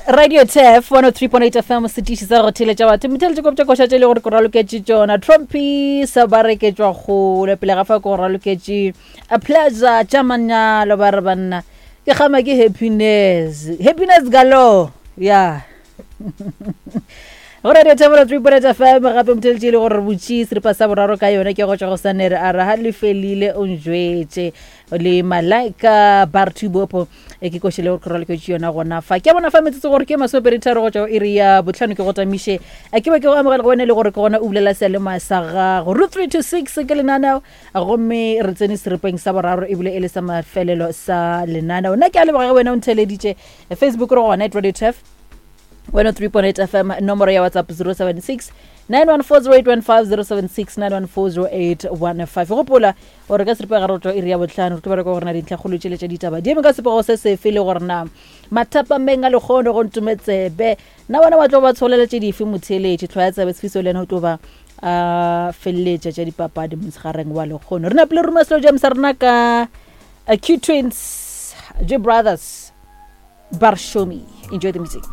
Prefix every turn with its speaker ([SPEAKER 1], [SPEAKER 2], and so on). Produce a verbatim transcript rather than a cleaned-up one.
[SPEAKER 1] Radio Tef one oh three point eight F M, setiši sa go theeletša batho. Motheeletši kopša koša tše e le gore ke raloketše tšona. Trompies ba re ke tšwa kgole pele ga fa ke go raloketše a pleasure tša manyalo ba re banna. Ke kgama ke happiness. Happiness galore. Yeah. Go Radio Tef one oh three point eight F M gape motheeletši e le gore re butše seripa sa boraro ka yona ke go tšwa go Sanere a re ha le felile o njwetše le Malaika Bartubopo e ke košele gore ke raloketše yona gona fa. Ke a bona fa metsotso gore ke masomepedi tharo go tšwa go iri ya bohlano ke go tamiše. A ke be ke go amogela go wena e le gore ke gona o bulela seyalemoya sa gago. Root three two six ke lenaneo gomme re tsene seripeng sa boraro ebile e le sa mafelelo sa lenaneo. Nna ke a leboga ge wena o ntheeleditše. Facebook re gona at Radio Tef one oh three point eight F M, nomoro ya WhatsApp zero seven six nine one four zero eight one five, zero seven six nine one four zero eight one five. Gopola gore ka seripa gare go tšwa iri ya bohlano re tlo bereka gore na dintlhakgolo tšele tša ditaba di eme ka sepego se sefe le gore na mathapameng a lekgono go ntumetsebe na bona ba tlo ba tsholela tše dife motheeletši tlhwa ya tsebe Sifiso le yena o tlo ba a feleletša tša dipapadi motshegareng wa lekgono. Re napile ruma selo jam sa rena ka Q Twins, G Brothers, Barshomi. Enjoy the music.